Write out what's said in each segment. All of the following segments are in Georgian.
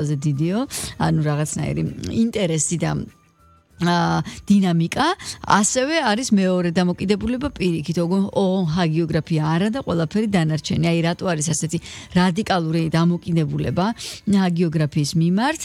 დიდიო, ანუ რაღაცნაირი ინტერესი და დინამიკა, ასევე არის მეორე დამოკიდებულება პირიქით, ჰაგიოგრაფია არა და ყველაფერი დანარჩენი. აი რატო არის ასეთი რადიკალური დამოკიდებულება ჰაგიოგრაფიის მიმართ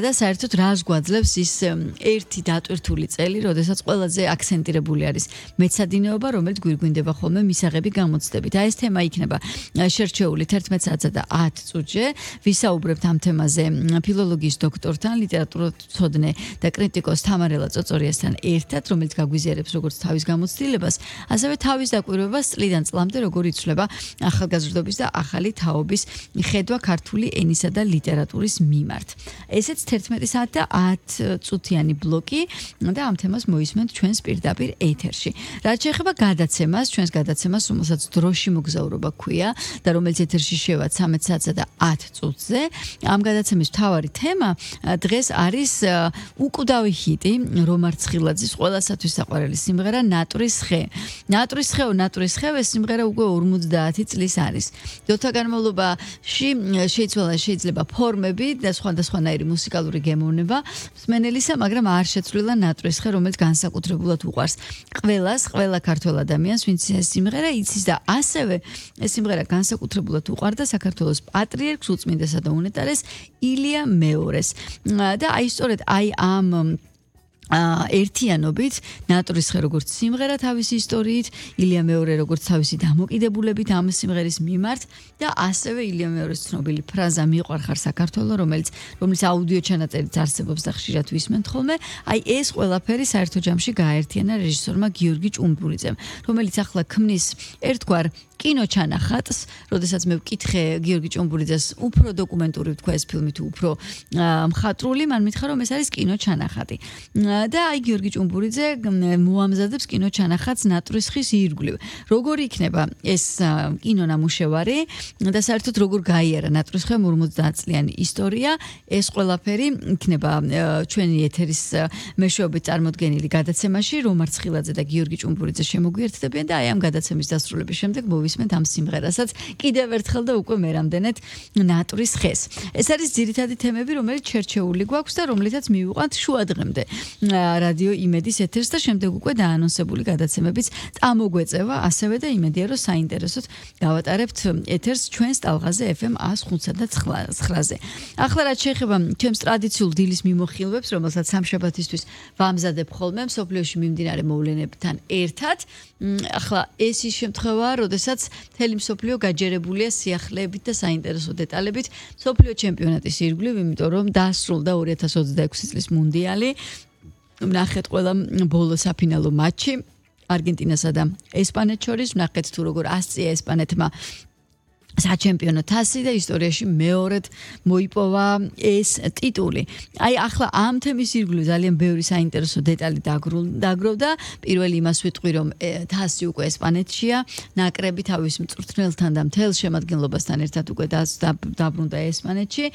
და საერთოდ რას გვაძლევს ის ერთი დატვირთული წელი, როდესაც ყველაზე აქცენტირებული არის მეცადინეობა, რომელიც გვირგვინდება ხოლმე მისაღები გამოცდებით. აი ეს თემა იქნება შერჩეული 11 საათსა და 10 წუთში. ვისაუბრებთ ამ თემაზე ფილოლოგიის დოქტორთან, ლიტერატურათმცოდნე და კრიტიკოს თამარ წოწორიასთან ერთად, რომელიც გაგვიზიარებს როგორც თავის გამოცდილებას, ასევე თავის დაკვირვებას წლიდან წლამდე როგორ იცვლება ახალგაზრდობის და ახალი თაობის ხედვა ქართული ენისა და ლიტერატურის მიმართ. ესეც 11 საათ და 10 წუთიანი ბლოკი და ამ თემას მოისმენთ ჩვენს პირდაპირ ეთერში. რაც შეეხება გადაცემას, ჩვენს გადაცემას, რომელსაც დროში მოგზაურობა ქვია და რომელიც ეთერში შევა 13 საათსა და 10 წუთზე, ამ გადაცემის მთავარი თემა დღეს არის უკვდავი ჰიტი რომარ ცხილაძის ყველასათვის საყვარელი სიმღერა ნატურის ხე. ნატურის ხე ეს სიმღერა უკვე 50 წლის არის. დროთა განმავლობაში შეიძლება ფორმები და სხვადასხვანაირი მუსიკალური გემოვნება მსმენელისა, მაგრამ არ შეცვლილა ნატურის ხე, რომელიც განსაკუთრებულად უყვარს ყველა ქართველ ადამიანს, ვინც ეს სიმღერა იცის და ასევე ეს სიმღერა განსაკუთრებულად უყვარდა საქართველოს პატრიარქს, უწმინდესა და უნეტარეს ილია მეორეს. და აი სწორედ ამ ერთიანობით ნატურის ხე როგორც სიმღერა თავისი ისტორიით, ილია მეორე როგორც თავისი დამოკიდებულებით ამ სიმღერის მიმართ და ასევე ილია მეორის ცნობილი ფრაზა მიყვარხარ საქართველო, რომელიც აუდიო ჩანაწერიც არსებობს და ხშირად ვისმენთ ხოლმე. აი ეს ყველაფერი საერთო ჯამში გააერთიანა რეჟისორმა გიორგი ჭუმბურიძემ, რომელიც ახლა ქმნის ერთგვარ კინოჩანახატს, როდესაც მე ვკითხე გიორგი ჭუმბურიძეს უფრო დოკუმენტური ვთქვა ეს ფილმი თუ უფრო მხატვრული, მან მითხრა რომ ეს არის კინოჩანახატი. და აი გიორგი ჭუმბურიძე მოამზადებს კინოჩანახატს ნატურის ხის ირგვლივ. როგორ იქნება ეს კინონამუშევარი და საერთოდ როგორ გაიარა ნატურის ხე 50 წლიანი ისტორია, ეს ყველაფერი იქნება ჩვენი ეთერის მეშვეობით წარმოდგენილი გადაცემაში, რომარ ცხილაძე და გიორგი ჭუმბურიძე შემოგვიერთდებიან და აი ამ გადაცემის დასრულების შემდეგ მოვისმენთ ამ სიმღერასაც კიდევ ერთხელ და უკვე მერამდენეთ ნატურის ხეს. ეს არის ძირითადი თემები, რომელიც შერჩეული გვაქვს და რომლითაც მივიყვანთ შუა დღემდე რადიო იმედის ეთერს და შემდეგ უკვე დაანონსებული გადაცემებიც წამოგვეწევა, ასევე და იმედია რომ საინტერესოდ გავატარებთ ეთერს ჩვენს ტალღაზე FM 105.9-ზე. ახლა რაც შეეხება ჩემს ტრადიციულ დილის მიმოხილვებს, რომელსაც სამშაბათისთვის ვამზადებ ხოლმე მსოფლიოში მიმდინარე მოვლენებთან ერთად, ახლა ეს ის შემთხვევაა, როდესაც მთელი მსოფლიო გაჯერებულია სიახლეებით და საინტერესო დეტალებით მსოფლიო ჩემპიონატის ირგვლივ, იმიტომ რომ დასრულდა 2026 წლის მუნდიალი. ვნახეთ ყველა ბოლო საფინალო მატჩი არგენტინასა და ესპანეთს შორის, ვნახეთ თუ როგორ ასწია ესპანეთმა საჩემპიონო თასი და ისტორიაში მეორედ მოიპოვა ეს ტიტული. აი ახლა ამ თემის ირგვლივ ძალიან ბევრი საინტერესო დეტალი დაგროვდა. პირველი იმას ვიტყვი, რომ თასი უკვე ესპანეთშია, ნაკრები თავის მწვრთნელთან და მთელ შემადგენლობასთან ერთად უკვე დაბრუნდა ესპანეთში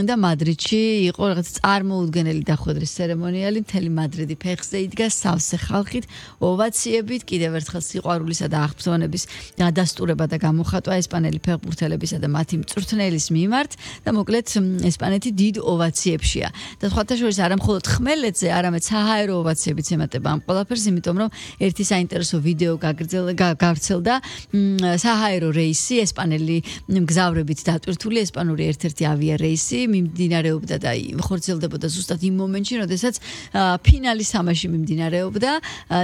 და მადრიდში იყო რაღაც წარმოუდგენელი დახვედრის ცერემონიალი, მთელი მადრიდი ფეხზე იდგა სავსე ხალხით, ოვაციებით, კიდევ ერთხელ სიყვარულისა და აღფრთოვანების დადასტურება და გამოხატვა ესპანელი ფეხბურთელებისა და მათი მწვრთნელის მიმართ და მოკლედ ესპანეთი დიდ ოვაციებშია. და სხვათა შორის არა მხოლოდ ხმელეთზე, არამედ საჰაერო ოვაციებიც ემატება ამ ყველაფერს, იმიტომ რომ ერთი საინტერესო ვიდეო გავრცელდა საჰაერო რეისი, ესპანელი მგზავრებით დატვირთული ესპანური ერთ-ერთი ავიარეისი მიმდინარეობდა და ხორციელდებოდა ზუსტად იმ მომენტში, როდესაც ფინალი თამაში მიმდინარეობდა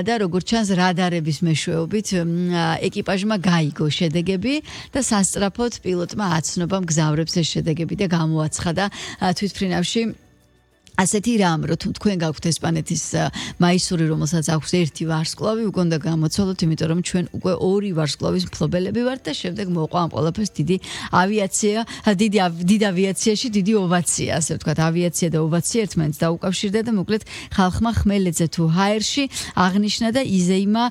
და როგორც ჩანს რადარების მეშვეობით ეკიპაჟმა გაიგო შედეგები და სწრაფოდ პილოტმა აცნობა მგზავრებს ეს შედეგები და გამოაცხადა თვითმფრინავში ასეთი რამ, რომ თქვენ გაქვთ ესპანეთის მაისური, რომელსაც აქვს ერთი ვარსკვლავი, უკვე უნდა გამოცვალოთ, იმიტომ რომ ჩვენ უკვე ორი ვარსკვლავის მფლობელები ვართ და შემდეგ მოყვა ამ ყველაფერს დიდი ავიაციაში დიდი ოვაცია, ასე ვთქვათ, ავიაცია და ოვაცია ერთმანეთს დაუკავშირდა და მოკლედ ხალხმა ხმელეთზე თუ ჰაერში აღნიშნა და იზეიმა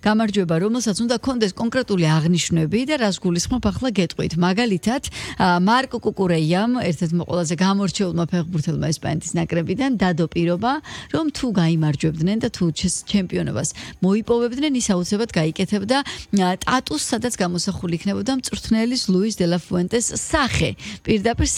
გამარჯვება, რომელსაც უნდა კონდეს კონკრეტული აღნიშვნები და რას გულისხმობ ახლა გეტყვით. მაგალითად, მარკო კუკურეიამ, ერთ-ერთმა ყველაზე გამორჩეულმა ფეხბურთელმა ესპანეთის ნაკრებიდან დადო პირობა, რომ თუ გაიმარჯვებდნენ და თუ ჩემპიონობას მოიპოვებდნენ, ის აუცილებლად გაიკეთებდა სტატუსს, სადაც გამოსახული იქნებოდა მწვრთნელის ლუის დე ლა ფუენტეს სახე. პირდაპირ